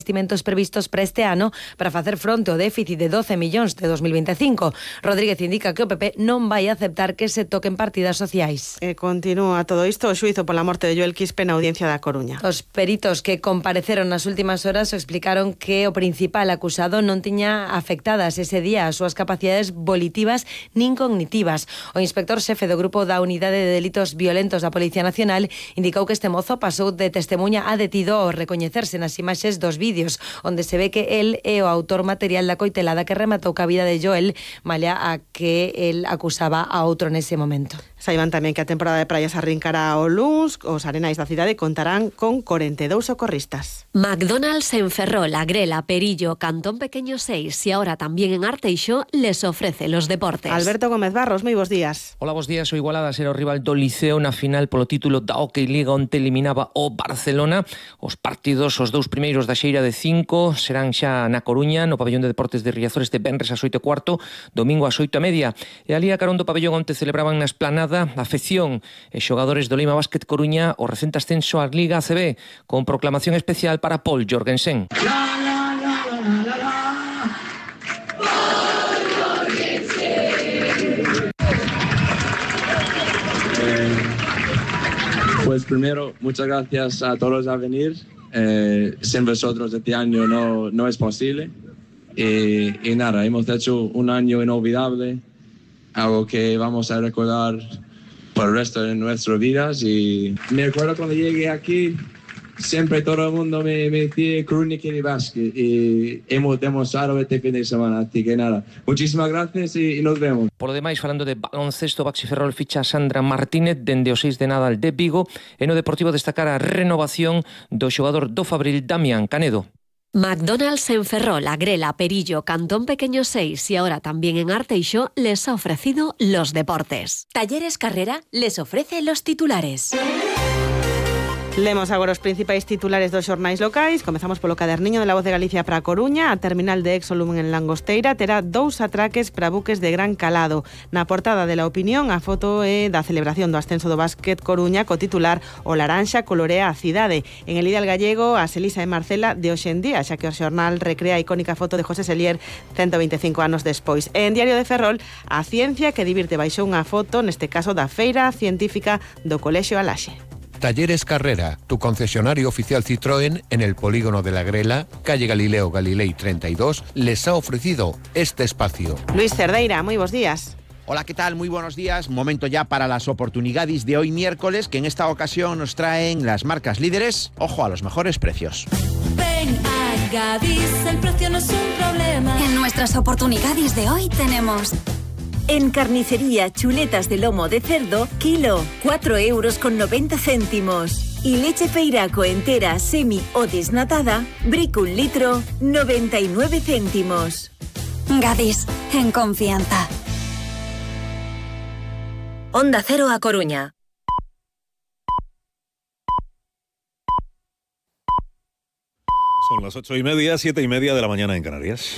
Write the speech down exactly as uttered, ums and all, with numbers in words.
investimentos previstos para este ano para facer fronte ao déficit de doce millóns de dos mil veinticinco. Rodríguez indica que o P P non vai aceptar que se toquen partidas sociais. E continúa todo isto o xuízo pola morte de Joel Quispe na Audiencia da Coruña. Os peritos que compareceron nas últimas horas explicaron que o principal acusado non tiña afectadas ese día as súas capacidades volitivas nin cognitivas. O inspector xefe do grupo da Unidade de Delitos Violentos da Policía Nacional indicou que este mozo pasou de testemunha a detido ao recoñecerse nas imaxes dos vídeos, onde se ve que el é o autor material da coitelada que rematou ca vida de Joel, malia a que el acusaba a outro nese momento. Saiban tamén que a temporada de praias arrincará o luns. Os arenais da cidade contarán con corenta e dous socorristas. McDonald's en Ferrol, Agrela, Perillo, Cantón Pequeño seis y ahora también en Arteixo les ofrece los deportes. Alberto Gómez Barros, moi bons días. Hola, bons días. O Igualada será o rival do Liceo na final polo título da Hockey Liga, onde eliminaba o Barcelona. Os partidos, os dous primeiros da xeira de cinco, serán xa na Coruña, no pabellón de deportes de Riazor, este venres ás oito e cuarto, domingo ás oito e media. E ali a carón do pabellón onde celebraban na esplanada a afección e xogadores do Lima Basket Coruña o recente ascenso á Liga A C B, con proclamación especial para Paul Jorgensen. Pues primero, muchas gracias a todos a venir. Eh, sin vosotros este año no, no es posible. Y, y nada, hemos hecho un año inolvidable, algo que vamos a recordar por el resto de nuestras vidas. Y me acuerdo cuando llegué aquí, siempre todo el mundo me, me decía Crónica y Básquet, y hemos demostrado este fin de semana, así que nada, muchísimas gracias y, y nos vemos. Por lo demais, falando de baloncesto, Baxi Ferrol ficha a Sandra Martínez dende o seis de Nadal de Vigo, e no Deportivo destacar a renovación do xogador do Fabril, Damián Canedo. McDonald's en Ferrol, Agrela, Perillo, Cantón Pequeño seis y ahora también en Arteixo les ha ofrecido los deportes. Talleres Carrera les ofrece los titulares. Lemos agora os principais titulares dos xornais locais. Comezamos polo caderniño de La Voz de Galicia para a Coruña. A terminal de Exolum en Langosteira terá dous atraques para buques de gran calado. Na portada de La Opinión, a foto é da celebración do ascenso do Básquet Coruña co titular O laranxa colorea a cidade. En el Ideal Gallego, as Elisa e Marcela de hoxendía, xa que o xornal recrea a icónica foto de José Selier ciento veinticinco anos despois. E en Diario de Ferrol, a ciencia que divirte baixou unha foto, neste caso da Feira Científica do Colexio Alaxe. Talleres Carrera, tu concesionario oficial Citroën en el polígono de la Grela, calle Galileo Galilei treinta y dos, les ha ofrecido este espacio. Luis Cerdeira, muy buenos días. Hola, ¿qué tal? Muy buenos días. Momento ya para las oportunidades de hoy miércoles, que en esta ocasión nos traen las marcas líderes. Ojo a los mejores precios. Ven a Gadis, el precio no es un problema. En nuestras oportunidades de hoy tenemos... En carnicería, chuletas de lomo de cerdo, kilo, cuatro euros con noventa céntimos. Y leche Feiraco entera, semi o desnatada, brico un litro, noventa y nueve céntimos. Gadis, en confianza. Onda Cero a Coruña. Son las ocho y media, siete y media de la mañana en Canarias.